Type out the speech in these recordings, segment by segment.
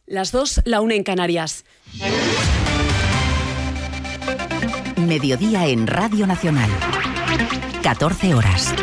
Las 2, la 1 en Canarias. Mediodía en Radio Nacional. 14 horas.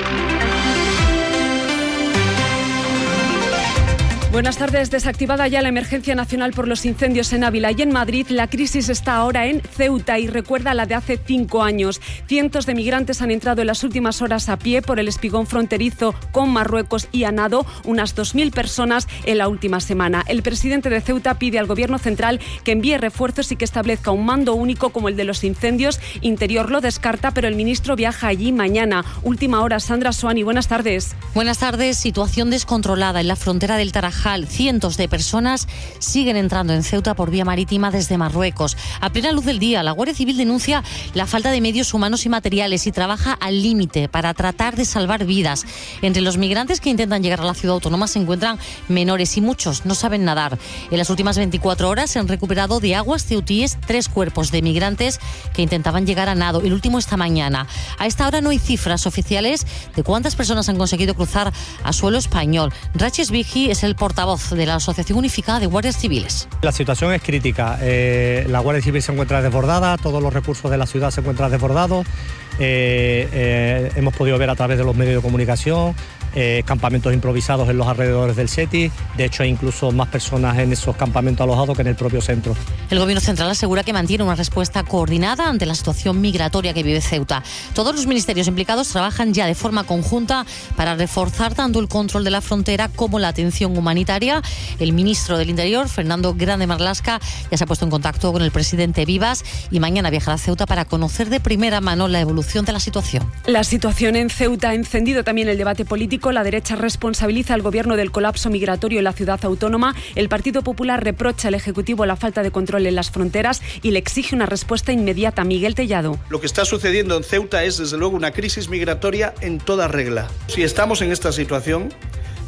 Buenas tardes. Desactivada ya la emergencia nacional por los incendios en Ávila y en Madrid, la crisis está ahora en Ceuta y recuerda la de hace 5 años. Cientos de migrantes han entrado en las últimas horas a pie por el espigón fronterizo con Marruecos y a nado, unas 2.000 personas en la última semana. El presidente de Ceuta pide al Gobierno central que envíe refuerzos y que establezca un mando único como el de los incendios. Interior lo descarta, pero el ministro viaja allí mañana. Última hora, Sandra Soani, buenas tardes. Buenas tardes. Situación descontrolada en la frontera del Tarajal. Cientos de personas siguen entrando en Ceuta por vía marítima desde Marruecos. A plena luz del día, la Guardia Civil denuncia la falta de medios humanos y materiales y trabaja al límite para tratar de salvar vidas. Entre los migrantes que intentan llegar a la ciudad autónoma se encuentran menores y muchos no saben nadar. En las últimas 24 horas se han recuperado de aguas ceutíes 3 cuerpos de migrantes que intentaban llegar a nado, el último esta mañana. A esta hora no hay cifras oficiales de cuántas personas han conseguido cruzar a suelo español. Raches Vigi es el portavoz de la Asociación Unificada de Guardias Civiles. La situación es crítica. La Guardia Civil se encuentra desbordada, todos los recursos de la ciudad se encuentran desbordados. Hemos podido ver a través de los medios de comunicación campamentos improvisados en los alrededores del SETI. De hecho, hay incluso más personas en esos campamentos alojados que en el propio centro. El Gobierno central asegura que mantiene una respuesta coordinada ante la situación migratoria que vive Ceuta. Todos los ministerios implicados trabajan ya de forma conjunta para reforzar tanto el control de la frontera como la atención humanitaria. El ministro del Interior, Fernando Grande Marlaska, ya se ha puesto en contacto con el presidente Vivas y mañana viajará a Ceuta para conocer de primera mano la evolución de la situación. La situación en Ceuta ha encendido también el debate político. La derecha responsabiliza al Gobierno del colapso migratorio en la ciudad autónoma. El Partido Popular reprocha al Ejecutivo la falta de control en las fronteras y le exige una respuesta inmediata. Miguel Tellado. Lo que está sucediendo en Ceuta es, desde luego, una crisis migratoria en toda regla. Si estamos en esta situación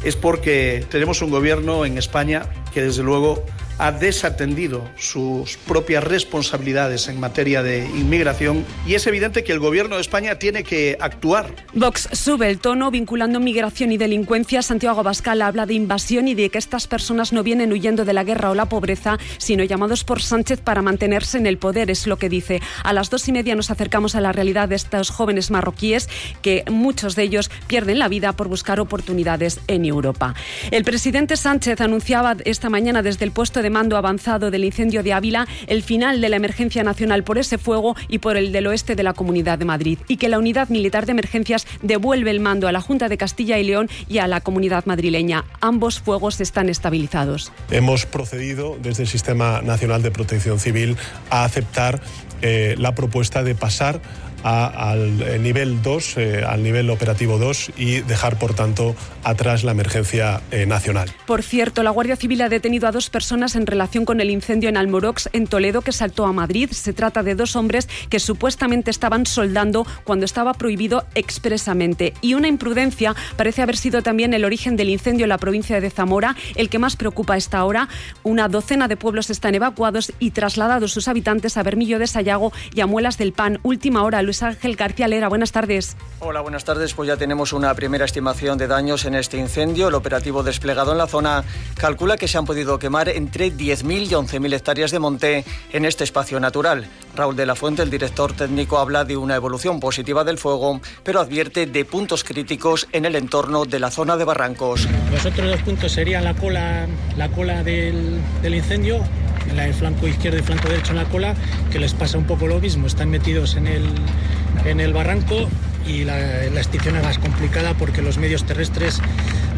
es porque tenemos un gobierno en España que, desde luego, ha desatendido sus propias responsabilidades en materia de inmigración y es evidente que el Gobierno de España tiene que actuar. Vox sube el tono vinculando migración y delincuencia. Santiago Abascal habla de invasión y de que estas personas no vienen huyendo de la guerra o la pobreza, sino llamados por Sánchez para mantenerse en el poder, es lo que dice. A las 2:30 nos acercamos a la realidad de estos jóvenes marroquíes, que muchos de ellos pierden la vida por buscar oportunidades en Europa. El presidente Sánchez anunciaba esta mañana desde el puesto de mando avanzado del incendio de Ávila el final de la emergencia nacional por ese fuego y por el del oeste de la Comunidad de Madrid, y que la Unidad Militar de Emergencias devuelve el mando a la Junta de Castilla y León y a la Comunidad madrileña. Ambos fuegos están estabilizados. Hemos procedido desde el Sistema Nacional de Protección Civil a aceptar la propuesta de pasar al nivel 2, al nivel operativo 2 y dejar, por tanto, atrás la emergencia nacional. Por cierto, la Guardia Civil ha detenido a 2 personas en relación con el incendio en Almorox, en Toledo, que saltó a Madrid. Se trata de 2 hombres que supuestamente estaban soldando cuando estaba prohibido expresamente. Y una imprudencia parece haber sido también el origen del incendio en la provincia de Zamora, el que más preocupa a esta hora. Una docena de pueblos están evacuados y trasladados sus habitantes a Bermillo de Sayago y a Muelas del Pan. Última hora, Luis Ángel García Lera, buenas tardes. Hola, buenas tardes. Pues ya tenemos una primera estimación de daños en este incendio. El operativo desplegado en la zona calcula que se han podido quemar entre 10.000 y 11.000 hectáreas de monte en este espacio natural. Raúl de la Fuente, el director técnico, habla de una evolución positiva del fuego, pero advierte de puntos críticos en el entorno de la zona de Barrancos. Los otros 2 puntos serían la cola del incendio, en el flanco izquierdo y flanco derecho en la cola, que les pasa un poco lo mismo. Están metidos en el barranco y la extinción es más complicada porque los medios terrestres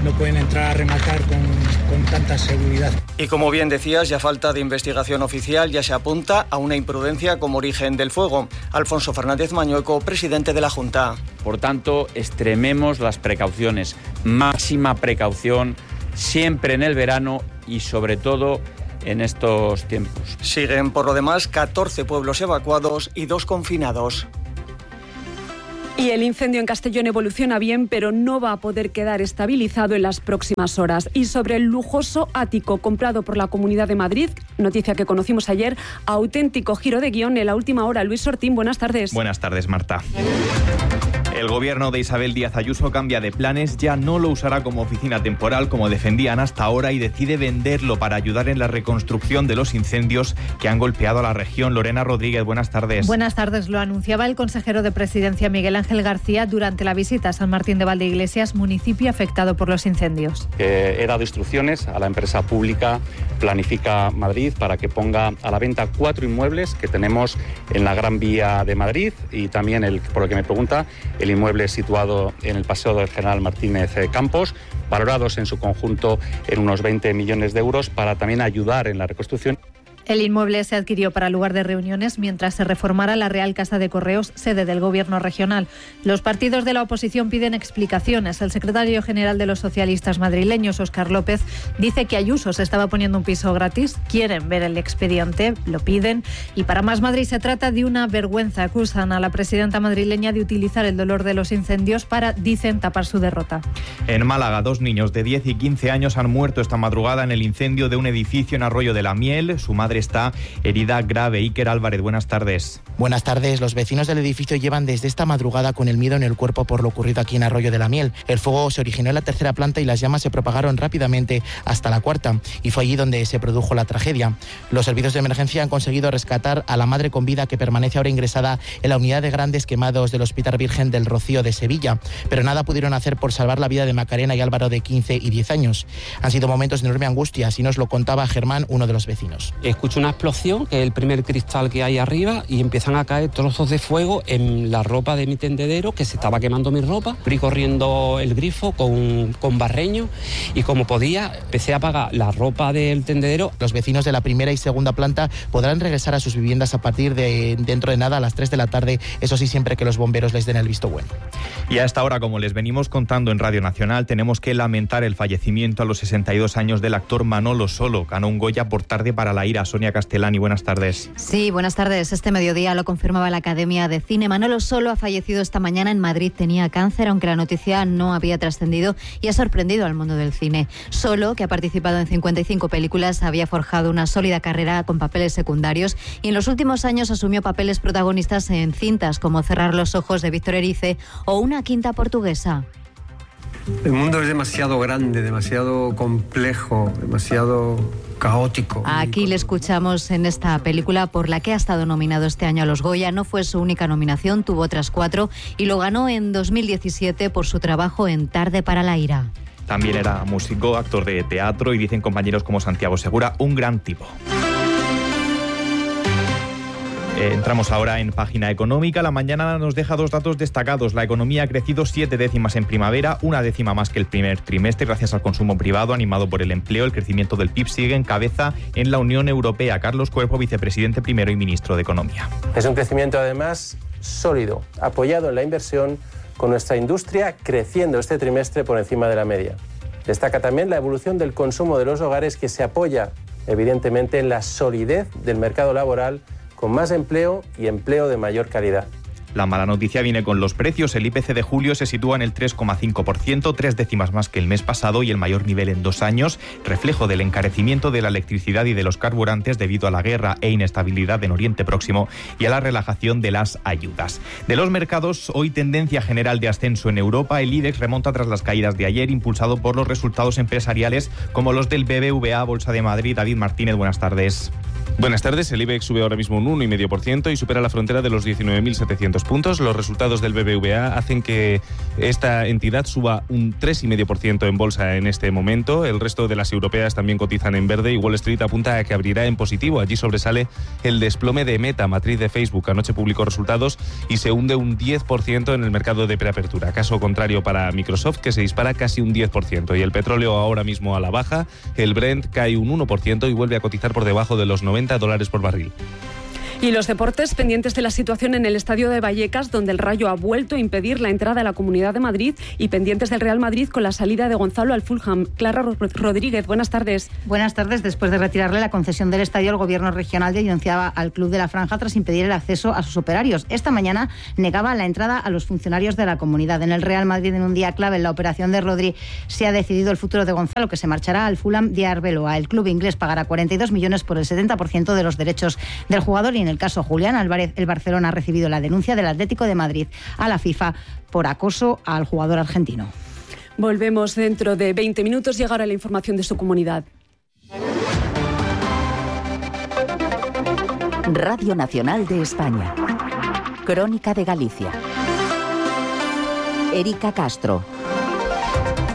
no pueden entrar a rematar con tanta seguridad. Y como bien decías, ya falta de investigación oficial, ya se apunta a una imprudencia como origen del fuego. Alfonso Fernández Mañueco, presidente de la Junta. Por tanto, extrememos las precauciones, máxima precaución, siempre en el verano y sobre todo en estos tiempos. Siguen, por lo demás, 14 pueblos evacuados y 2 confinados. Y el incendio en Castellón evoluciona bien, pero no va a poder quedar estabilizado en las próximas horas. Y sobre el lujoso ático comprado por la Comunidad de Madrid, noticia que conocimos ayer, auténtico giro de guión en la última hora. Luis Ortín, buenas tardes. Buenas tardes, Marta. El gobierno de Isabel Díaz Ayuso cambia de planes, ya no lo usará como oficina temporal como defendían hasta ahora y decide venderlo para ayudar en la reconstrucción de los incendios que han golpeado a la región. Lorena Rodríguez, buenas tardes. Buenas tardes, lo anunciaba el consejero de Presidencia Miguel Ángel García durante la visita a San Martín de Valdeiglesias, municipio afectado por los incendios. He dado instrucciones a la empresa pública Planifica Madrid para que ponga a la venta 4 inmuebles que tenemos en la Gran Vía de Madrid y también, por lo que me pregunta, el inmueble situado en el Paseo del General Martínez Campos, valorados en su conjunto en unos 20 millones de euros para también ayudar en la reconstrucción. El inmueble se adquirió para lugar de reuniones mientras se reformara la Real Casa de Correos, sede del Gobierno regional. Los partidos de la oposición piden explicaciones. El secretario general de los socialistas madrileños, Óscar López, dice que Ayuso se estaba poniendo un piso gratis. Quieren ver el expediente, lo piden. Y para Más Madrid se trata de una vergüenza. Acusan a la presidenta madrileña de utilizar el dolor de los incendios para, dicen, tapar su derrota. En Málaga, 2 niños de 10 y 15 años han muerto esta madrugada en el incendio de un edificio en Arroyo de la Miel. Su madre está herida grave. Iker Álvarez, buenas tardes. Buenas tardes. Los vecinos del edificio llevan desde esta madrugada con el miedo en el cuerpo por lo ocurrido aquí en Arroyo de la Miel. El fuego se originó en la 3ª planta y las llamas se propagaron rápidamente hasta la 4ª y fue allí donde se produjo la tragedia. Los servicios de emergencia han conseguido rescatar a la madre con vida que permanece ahora ingresada en la unidad de grandes quemados del Hospital Virgen del Rocío de Sevilla, pero nada pudieron hacer por salvar la vida de Macarena y Álvaro de 15 y 10 años. Han sido momentos de enorme angustia, así nos lo contaba Germán, uno de los vecinos. Escucho una explosión, que es el primer cristal que hay arriba, y empiezan a caer trozos de fuego en la ropa de mi tendedero, que se estaba quemando mi ropa. Fui corriendo el grifo con barreño y como podía empecé a apagar la ropa del tendedero. Los vecinos de la 1ª y 2ª planta podrán regresar a sus viviendas a partir de dentro de nada a las 3 de la tarde, eso sí, siempre que los bomberos les den el visto bueno. Y a esta hora, como les venimos contando en Radio Nacional, tenemos que lamentar el fallecimiento a los 62 años del actor Manolo Solo. Ganó un Goya por Tarde para la ira. Sonia Castellani, buenas tardes. Sí, buenas tardes. Este mediodía lo confirmaba la Academia de Cine. Manolo Solo ha fallecido esta mañana en Madrid. Tenía cáncer, aunque la noticia no había trascendido y ha sorprendido al mundo del cine. Solo, que ha participado en 55 películas, había forjado una sólida carrera con papeles secundarios y en los últimos años asumió papeles protagonistas en cintas como Cerrar los ojos de Víctor Erice o Una quinta portuguesa. El mundo es demasiado grande, demasiado complejo, demasiado caótico. Aquí le escuchamos en esta película por la que ha estado nominado este año a los Goya. No fue su única nominación, tuvo otras 4 y lo ganó en 2017 por su trabajo en Tarde para la ira. También era músico, actor de teatro y dicen compañeros como Santiago Segura, un gran tipo. Entramos ahora en página económica. La mañana nos deja 2 datos destacados. La economía ha crecido 7 décimas en primavera, 1 décima más que el primer trimestre, gracias al consumo privado animado por el empleo. El crecimiento del PIB sigue en cabeza en la Unión Europea. Carlos Cuerpo, vicepresidente primero y ministro de Economía. Es un crecimiento además sólido, apoyado en la inversión, con nuestra industria creciendo este trimestre por encima de la media. Destaca también la evolución del consumo de los hogares, que se apoya evidentemente en la solidez del mercado laboral, con más empleo y empleo de mayor calidad. La mala noticia viene con los precios. El IPC de julio se sitúa en el 3,5%, 3 décimas más que el mes pasado y el mayor nivel en 2 años, reflejo del encarecimiento de la electricidad y de los carburantes debido a la guerra e inestabilidad en Oriente Próximo y a la relajación de las ayudas. De los mercados, hoy tendencia general de ascenso en Europa. El IBEX remonta tras las caídas de ayer, impulsado por los resultados empresariales como los del BBVA, Bolsa de Madrid. David Martínez, buenas tardes. Buenas tardes. El IBEX sube ahora mismo un 1,5% y supera la frontera de los 19.700 puntos. Los resultados del BBVA hacen que esta entidad suba un 3,5% en bolsa en este momento. El resto de las europeas también cotizan en verde y Wall Street apunta a que abrirá en positivo. Allí sobresale el desplome de Meta, matriz de Facebook. Anoche publicó resultados y se hunde un 10% en el mercado de preapertura. Caso contrario para Microsoft, que se dispara casi un 10%. Y el petróleo ahora mismo a la baja. El Brent cae un 1% y vuelve a cotizar por debajo de los $90 por barril. Y los deportes, pendientes de la situación en el estadio de Vallecas, donde el Rayo ha vuelto a impedir la entrada a la Comunidad de Madrid, y pendientes del Real Madrid con la salida de Gonzalo al Fulham. Clara Rodríguez, buenas tardes. Buenas tardes. Después de retirarle la concesión del estadio, el Gobierno regional denunciaba al Club de la Franja tras impedir el acceso a sus operarios. Esta mañana negaba la entrada a los funcionarios de la comunidad. En el Real Madrid, en un día clave en la operación de Rodri, se ha decidido el futuro de Gonzalo, que se marchará al Fulham de Arbeloa. El club inglés pagará 42 millones por el 70% de los derechos del jugador y en el caso Julián Álvarez, el Barcelona ha recibido la denuncia del Atlético de Madrid a la FIFA por acoso al jugador argentino. Volvemos dentro de 20 minutos. Llegará la información de su comunidad. Radio Nacional de España. Crónica de Galicia. Erika Castro.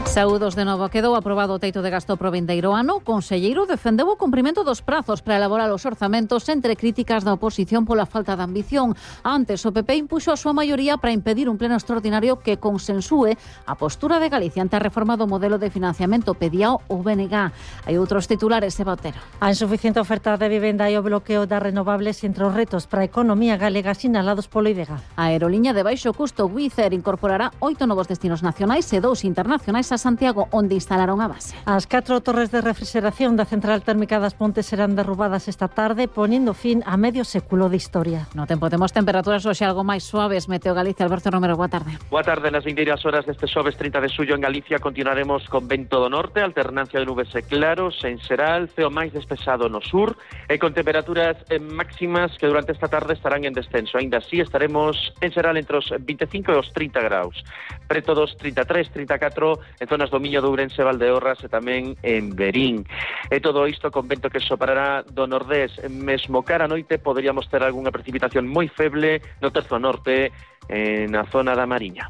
Saúdos de novo. Quedou aprobado o teito de gasto pro vindeiro ano. O conselleiro defendeu o cumprimento dos prazos para elaborar os orzamentos entre críticas da oposición pola falta de ambición. Antes, o PP impuxo a súa maioría para impedir un pleno extraordinario que consensúe a postura de Galicia ante a reforma do modelo de financiamento pediao o BNG. Hai outros titulares, Eva Otero. A insuficiente oferta de vivenda e o bloqueo das renovables entre os retos para a economía galega sinalados polo IDEGA. A aerolínea de baixo custo Wizz Air incorporará 8 novos destinos nacionais e 2 internacionais a Santiago, onde instalaron a base. As 4 torres de refrigeración da central térmica das Pontes serán derrubadas esta tarde, poniendo fin a medio século de historia. No tempo temos temperaturas hoxe algo máis suaves. Meteo Galicia, Alberto Romero, boa tarde. Boa tarde. Nas vindeiras horas deste xoves 30 de xullo en Galicia continuaremos con vento do norte, alternancia de nubes e claros, en xeral, ceo máis despexado no sur e con temperaturas máximas que durante esta tarde estarán en descenso. Ainda así estaremos en xeral entre os 25 e os 30 graus. Preto dos 33, 34 en zonas do Miño de Ourense, Valdeorras e tamén en Verín. E todo isto con vento que sopará do nordés. Mesmo cara a noite poderíamos ter algunha precipitación moi feble no terzo norte na zona da Mariña.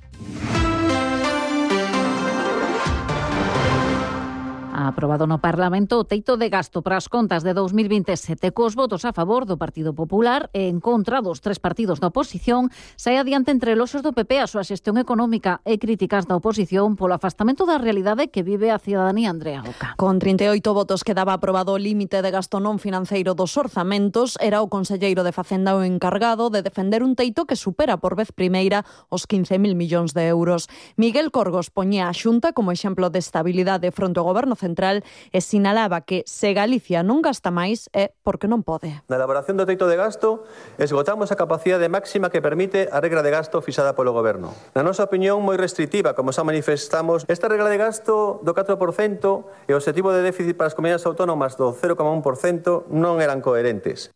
Aprobado no Parlamento o teito de gasto para as contas de 2027 cos votos a favor do Partido Popular e en contra dos 3 partidos da oposición. Sae adiante entre loxos do PP a súa xestión económica e críticas da oposición polo afastamento da realidade que vive a cidadanía. Andrea Oca. Con 38 votos quedaba aprobado o límite de gasto non financeiro dos orzamentos. Era o conselleiro de Facenda o encargado de defender un teito que supera por vez primeira os 15.000 millóns de euros. Miguel Corgos poñía a Xunta como exemplo de estabilidade fronte ao goberno central e sinalaba que se Galicia non gasta máis é porque non pode. Na elaboración do teito de gasto esgotamos a capacidade máxima que permite a regra de gasto fixada polo Goberno. Na nosa opinión moi restrictiva, como xa manifestamos, esta regra de gasto do 4% e o objetivo de déficit para as comunidades autónomas do 0,1% non eran coherentes.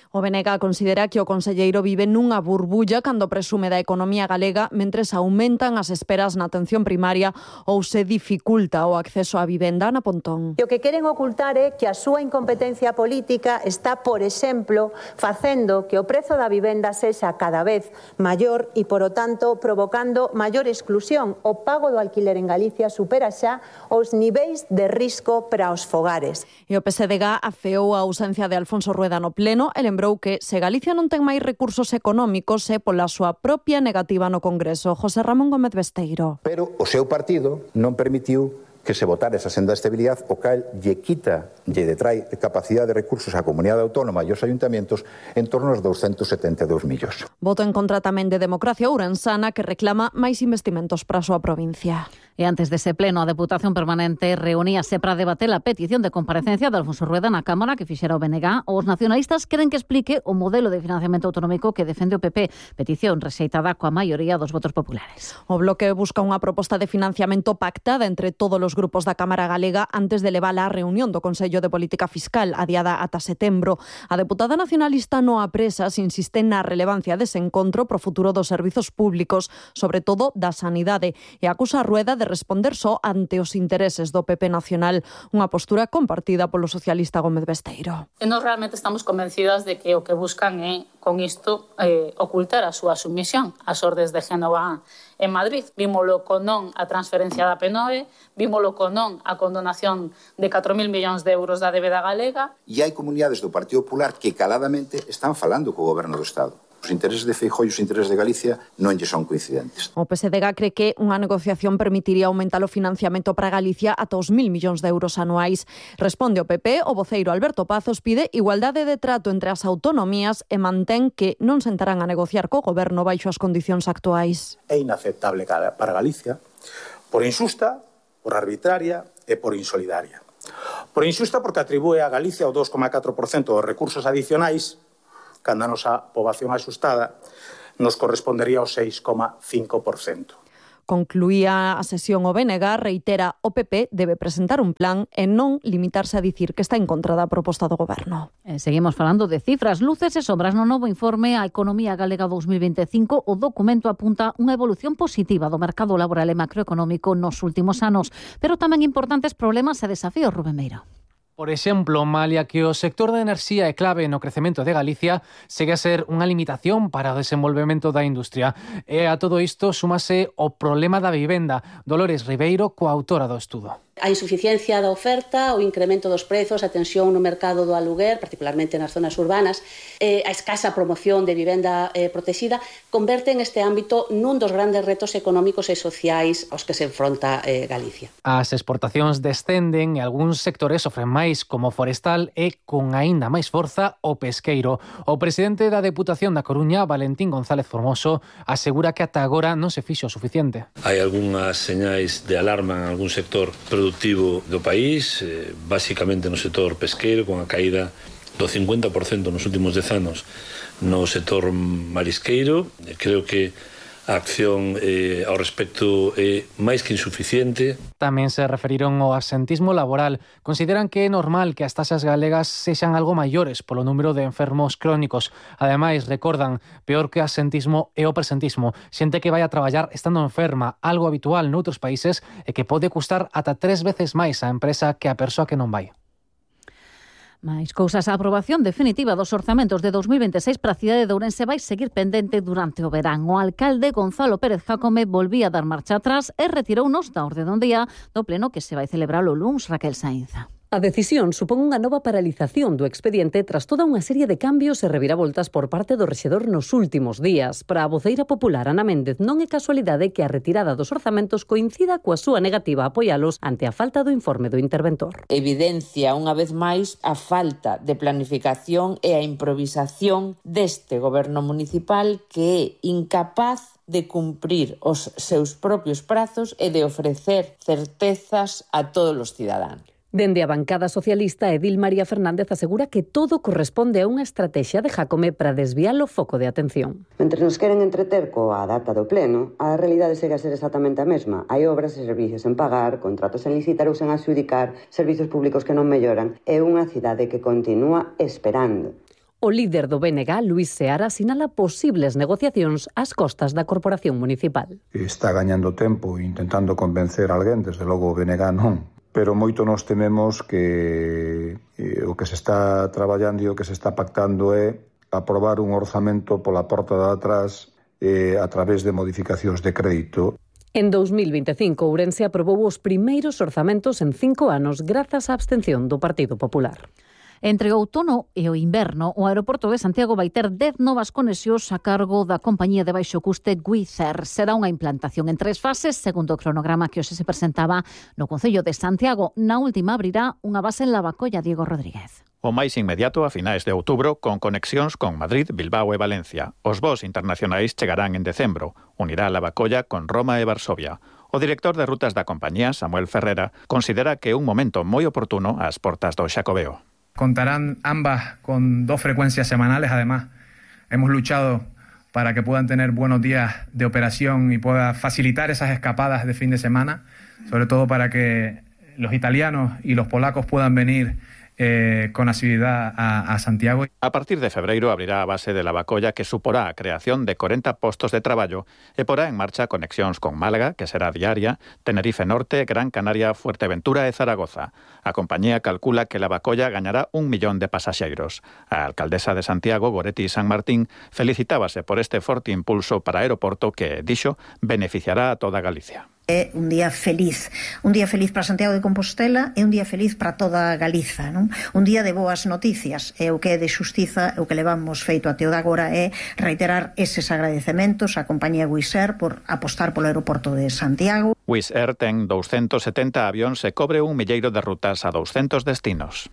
O BNG considera que o conselleiro vive nunha burbulla cando presume da economía galega mentres aumentan as esperas na atención primaria ou se dificulta o acceso á vivenda. Ana Pontón. E o que queren ocultar é que a súa incompetencia política está, por exemplo, facendo que o prezo da vivenda sexa cada vez maior e, por o tanto, provocando maior exclusión. O pago do alquiler en Galicia supera xa os niveis de risco para os fogares. E o PSDG afeou a ausencia de Alfonso Rueda no pleno e lembrou que se Galicia non ten máis recursos económicos é pola súa propia negativa no Congreso. José Ramón Gómez Besteiro. Pero o seu partido non permitiu que se votara esa senda de estabilidade, o cal lle quita, lle detrae capacidade de recursos á comunidade autónoma e aos ayuntamientos en torno aos 272 millóns. Voto en contra tamén de Democracia Ourensana, que reclama máis investimentos para a súa provincia. E antes dese pleno, a Deputación Permanente reuníase para debater a petición de comparecencia de Alfonso Rueda na Cámara que fixera o BNG. Os nacionalistas queren que explique o modelo de financiamento autonómico que defende o PP, petición rexeitada coa maioría dos votos populares. O Bloque busca unha proposta de financiamento pactada entre todos os grupos da Cámara Galega antes de levala á reunión do Consello de Política Fiscal adiada ata setembro. A deputada nacionalista Noa Presas insiste na relevancia dese encontro pro futuro dos servizos públicos, sobre todo da sanidade, e acusa a Rueda de responder só ante os intereses do PP nacional, unha postura compartida polo socialista Gómez Besteiro. E nós realmente estamos convencidas de que o que buscan é, con isto, ocultar a súa submisión ás ordes de Génova en Madrid. Vímolo con non a transferencia da P9, vímolo con non a condonación de 4.000 millóns de euros da débeda galega. E hai comunidades do Partido Popular que caladamente están falando co goberno do Estado. Os intereses de Feijóo e os intereses de Galicia non lle son coincidentes. O PSDG cree que unha negociación permitiría aumentar o financiamento para Galicia ata os 1.000 millóns de euros anuais. Responde o PP, o voceiro Alberto Pazos pide igualdade de trato entre as autonomías e mantén que non sentarán a negociar co goberno baixo as condicións actuais. É inaceptable para Galicia por injusta, por arbitraria e por insolidaria. Por injusta porque atribúe a Galicia o 2,4% dos recursos adicionais cando a nosa poboación axustada nos correspondería ao 6,5%. Concluía a sesión o BNG, reitera o PP debe presentar un plan e non limitarse a dicir que está en contra da proposta do Goberno. Seguimos falando de cifras, luces e sombras. No novo informe A Economía Galega 2025, o documento apunta unha evolución positiva do mercado laboral e macroeconómico nos últimos anos, pero tamén importantes problemas e desafíos, Rubén Meira. Por exemplo, malia que o sector da enerxía é clave no crecemento de Galicia, segue a ser unha limitación para o desenvolvemento da industria. E a todo isto súmase o problema da vivenda. Dolores Ribeiro, coautora do estudo. A insuficiencia da oferta, o incremento dos prezos, a tensión no mercado do aluguer, particularmente nas zonas urbanas, a escasa promoción de vivenda protexida, converten este ámbito nun dos grandes retos económicos e sociais aos que se enfronta Galicia. As exportacións descenden e algúns sectores sofren máis, como forestal e, con aínda máis forza, o pesqueiro. O presidente da Deputación da Coruña, Valentín González Formoso, asegura que ata agora non se fixo o suficiente. Hai algunhas señais de alarma en algún sector productivo do país, basicamente no sector pesqueiro, con a caída do 50% nos últimos 10 anos no sector marisqueiro. Creo que a acción ao respecto é máis que insuficiente. Tamén se referiron ao absentismo laboral. Consideran que é normal que as taxas galegas sexan algo maiores polo número de enfermos crónicos. Ademais, recordan, peor que o absentismo é o presentismo. Xente que vai a traballar estando enferma, algo habitual noutros países e que pode custar ata 3 veces máis a empresa que a persoa que non vai. Mais cousas, a aprobación definitiva dos orzamentos de 2026 para a cidade de Ourense vai seguir pendente durante o verán. O alcalde Gonzalo Pérez Jácome volvía a dar marcha atrás e retirounos da orde do día do pleno que se vai celebrar o luns, Raquel Sainza. A decisión supón unha nova paralización do expediente tras toda unha serie de cambios e reviravoltas por parte do rexedor nos últimos días. Para a voceira popular Ana Méndez, non é casualidade que a retirada dos orzamentos coincida coa súa negativa a apoialos ante a falta do informe do interventor. Evidencia unha vez máis a falta de planificación e a improvisación deste goberno municipal que é incapaz de cumprir os seus propios prazos e de ofrecer certezas a todos os cidadáns. Dende a bancada socialista, Edil María Fernández asegura que todo corresponde a unha estrategia de Jácome para desviar o foco de atención. Mentre nos queren entreter coa data do pleno, a realidade segue a ser exactamente a mesma. Hai obras e servicios en pagar, contratos en licitar ou sen adxudicar, servizos públicos que non melloran e unha cidade que continúa esperando. O líder do BNG, Luís Seara, sinala posibles negociacións ás costas da Corporación Municipal. Está gañando tempo intentando convencer a alguén, desde logo o BNG non. Pero moito nos tememos que o que se está traballando e o que se está pactando é aprobar un orzamento pola porta de atrás a través de modificacións de crédito. En 2025, Ourense aprobou os primeiros orzamentos en 5 anos grazas á abstención do Partido Popular. Entre o outono e o inverno, o aeroporto de Santiago vai ter 10 novas conexións a cargo da compañía de baixo custe Wizz Air. Será unha implantación en 3 fases, segundo o cronograma que hoxe se presentaba no Concello de Santiago. Na última abrirá unha base en Lavacolla, Diego Rodríguez. O máis inmediato a finais de outubro, con conexións con Madrid, Bilbao e Valencia. Os voos internacionais chegarán en decembro. Unirá Lavacolla con Roma e Varsovia. O director de rutas da compañía, Samuel Ferrera, considera que é un momento moi oportuno ás portas do Xacobeo. Contarán ambas con 2 frecuencias semanales. Además, hemos luchado para que puedan tener buenos días de operación y pueda facilitar esas escapadas de fin de semana, sobre todo para que los italianos y los polacos puedan venir con asiduidad a Santiago. A partir de febreiro abrirá a base de Lavacolla, que suporá a creación de 40 postos de traballo e porá en marcha conexións con Málaga, que será diaria, Tenerife Norte, Gran Canaria, Fuerteventura e Zaragoza. A compañía calcula que Lavacolla gañará 1 millón de pasaxeiros. A alcaldesa de Santiago, Goretti San Martín, felicitábase por este forte impulso para aeroporto que, dixo, beneficiará a toda Galicia. É un día feliz para Santiago de Compostela e un día feliz para toda Galiza, non? Un día de boas noticias, e o que é de xustiza, o que levamos feito até o de agora é reiterar eses agradecementos á compañía Wizz Air por apostar polo aeroporto de Santiago. Wizz Air ten 270 avións e cobre 1 milleiro de rutas a 200 destinos.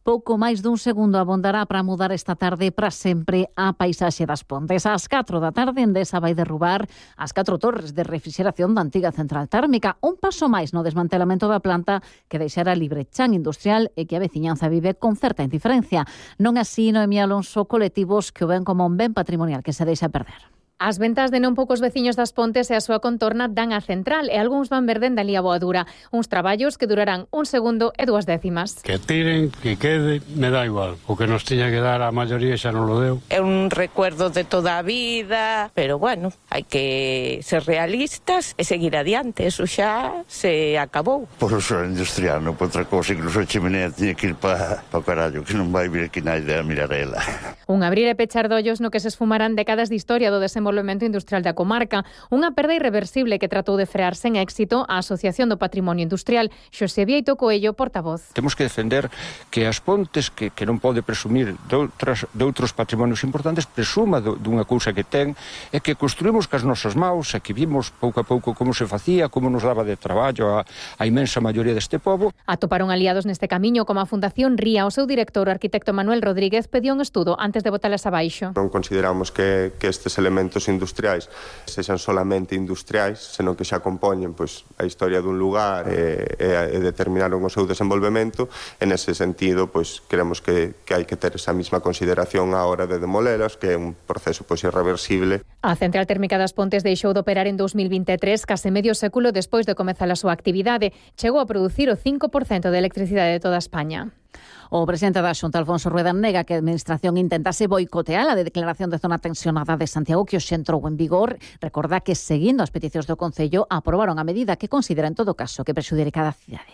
Pouco máis dun segundo abondará para mudar esta tarde para sempre a paisaxe das Pontes. Ás 4 da tarde, Endesa vai derrubar as 4 torres de refrigeración da antiga central térmica. Un paso máis no desmantelamento da planta que deixará libre chan industrial e que a veciñanza vive con certa indiferencia. Non así, Noemí Alonso, colectivos que o ven como un ben patrimonial que se deixa perder. As ventas de non poucos veciños das Pontes e a súa contorna dan a central e algúns van verde dali a Boadura. Uns traballos que durarán 1 segundo e 2 décimas. Que tiren, que quede, me dá igual. O que nos tiña que dar a maioría xa non lo deu. É un recuerdo de toda a vida, pero bueno, hai que ser realistas e seguir adiante. Eso xa se acabou. Por o suelo industrial, non por outra cousa, incluso a chimenea tiña que ir para o carallo, que non vai vir aquí nadie a mirar ela. Un abrir e pechar de ollos no que se esfumarán décadas de historia do desenvolvemento industrial da comarca, unha perda irreversible que tratou de frear sen éxito a Asociación do Patrimonio Industrial. Xosé Vieito Coello, portavoz. Temos que defender que as Pontes, que non pode presumir de outros patrimonios importantes, presuma dunha cousa que ten, e que construímos cas nosas maus, e que vimos pouco a pouco como se facía, como nos daba de traballo a imensa maioría deste pobo. Atoparon aliados neste camiño como a Fundación Ría. O seu director, o arquitecto Manuel Rodríguez, pediu un estudo antes de botalas abaixo. Non consideramos que estes elementos industriais sexan solamente industriais, senón que xa compoñen a historia dun lugar e determinaron o seu desenvolvemento. En ese sentido, creemos que hai que ter esa mesma consideración á hora de demolelas, que é un proceso irreversible. A central térmica das Pontes deixou de operar en 2023, case medio século despois de comezar a súa actividade. Chegou a producir o 5% de electricidade de toda España. O presidente da Xunta, Alfonso Rueda, nega que a Administración intentase boicotear a declaración de zona tensionada de Santiago, que hoxe entrou en vigor. Recorda que, seguindo as peticións do Concello, aprobaron a medida que considera, en todo caso, que prexudica a cidade.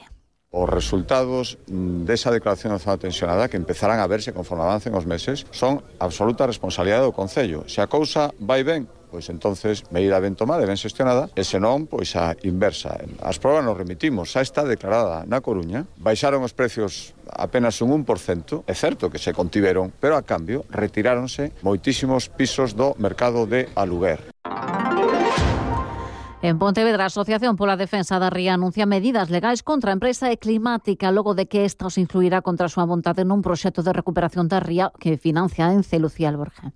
Os resultados desa declaración de zona tensionada, que empezarán a verse conforme avancen os meses, son absoluta responsabilidade do Concello. Se a cousa vai ben, entonces medida ben tomada e ben xestionada, e senón, a inversa. As probas nos remitimos, xa está declarada na Coruña, baixaron os precios apenas un 1%, é certo que se contiveron, pero a cambio retiráronse moitísimos pisos do mercado de aluguer. En Pontevedra, a Asociación pola Defensa da Ría anuncia medidas legais contra a empresa Eclimática logo de que esta os influirá contra a súa vontade nun proxecto de recuperación da ría que financia Ence. Lucía Alborja.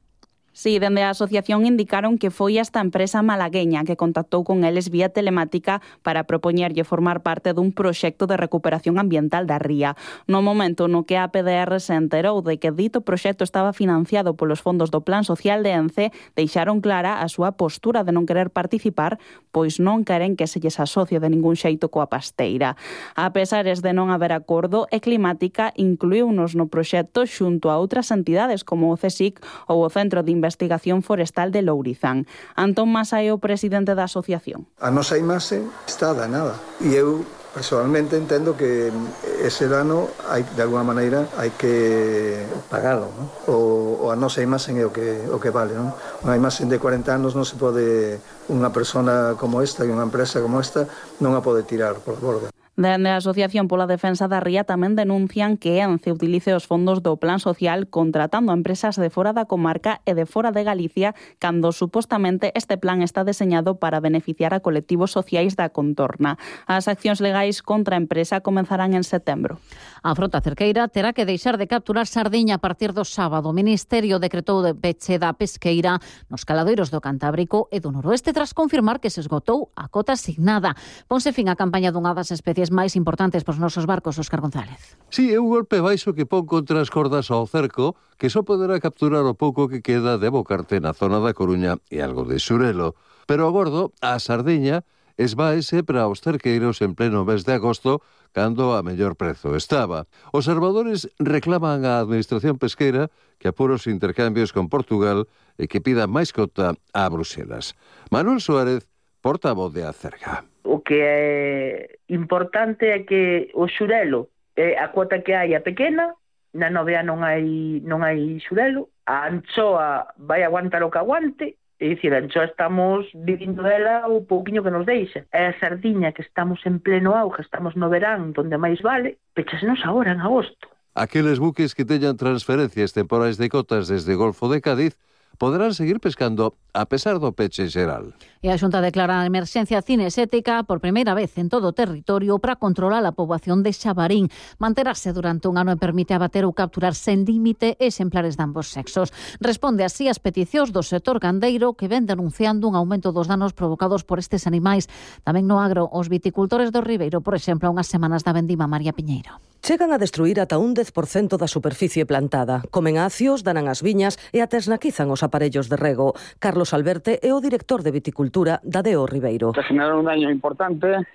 Sí, dende a asociación indicaron que foi esta empresa malagueña que contactou con eles vía telemática para propoñerlle formar parte dun proxecto de recuperación ambiental da ría. No momento no que a PDR se enterou de que dito proxecto estaba financiado polos fondos do Plan Social de Ence, deixaron clara a súa postura de non querer participar, pois non queren que se lles asocie de ningún xeito coa pasteira. A pesares de non haber acordo, Eclimática incluíunos no proxecto xunto a outras entidades como o CSIC ou o Centro de Investigación Forestal de Lourizán. Antón Masa é o presidente da asociación. A nosa imaxe está danada e eu personalmente entendo que ese dano de alguna maneira hai que pagalo, non? O a nosa imaxe é o que vale, non? Unha imaxe de 40 anos non se pode, unha persona como esta e unha empresa como esta non a pode tirar por borda. Dende a Asociación pola Defensa da Ría tamén denuncian que Ence utilice os fondos do Plan Social contratando a empresas de fora da comarca e de fora de Galicia cando supostamente este plan está deseñado para beneficiar a colectivos sociais da contorna. As accións legais contra a empresa comenzarán en setembro. A frota cerqueira terá que deixar de capturar sardiña a partir do sábado. O Ministerio decretou de peche da pesqueira nos caladoiros do Cantábrico e do Noroeste tras confirmar que se esgotou a cota asignada. Ponse fin a campaña dunha das especies máis importantes pros nosos barcos, Óscar González. Sí, é un golpe baixo que pon contra as cordas ao cerco, que só poderá capturar o pouco que queda de Bocarte na zona da Coruña e algo de Xurelo. Pero a gordo, a sardiña, esvaese para os cerqueiros en pleno mes de agosto, cando a mellor prezo estaba. Os salvadores reclaman á Administración Pesqueira que apure os intercambios con Portugal e que pida máis cota a Bruxelas. Manuel Suárez, portavoz de Acerga. O que é importante é que o xurelo, a cuota que hai é pequena, na novea non hai xurelo, a anchoa vai aguantar o que aguante, é dicir, a anchoa estamos vivindo dela o pouquiño que nos deixa. É a sardiña que estamos en pleno auge, estamos no verán, donde máis vale, pechasenos agora en agosto. Aqueles buques que teñan transferencias temporais de cotas desde Golfo de Cádiz poderán seguir pescando a pesar do peche xeral. E a Xunta declara a emerxencia cinexética por primeira vez en todo o territorio para controlar a poboación de xabarín. Manterase durante un ano e permite abater ou capturar sen límite exemplares de ambos sexos. Responde así ás peticións do sector gandeiro que ven denunciando un aumento dos danos provocados por estes animais. Tamén no agro, os viticultores do Ribeiro, por exemplo, unhas semanas da vendima. María Piñeiro. Chegan a destruir ata un 10% da superficie plantada. Comen acios, danan as viñas e até esnaquizan os aparellos de rego. Carlos Alberte é o director de viticultura da DO Ribeiro. Generaron un daño importante,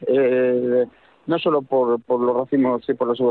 no solo por los racimos y por las uvas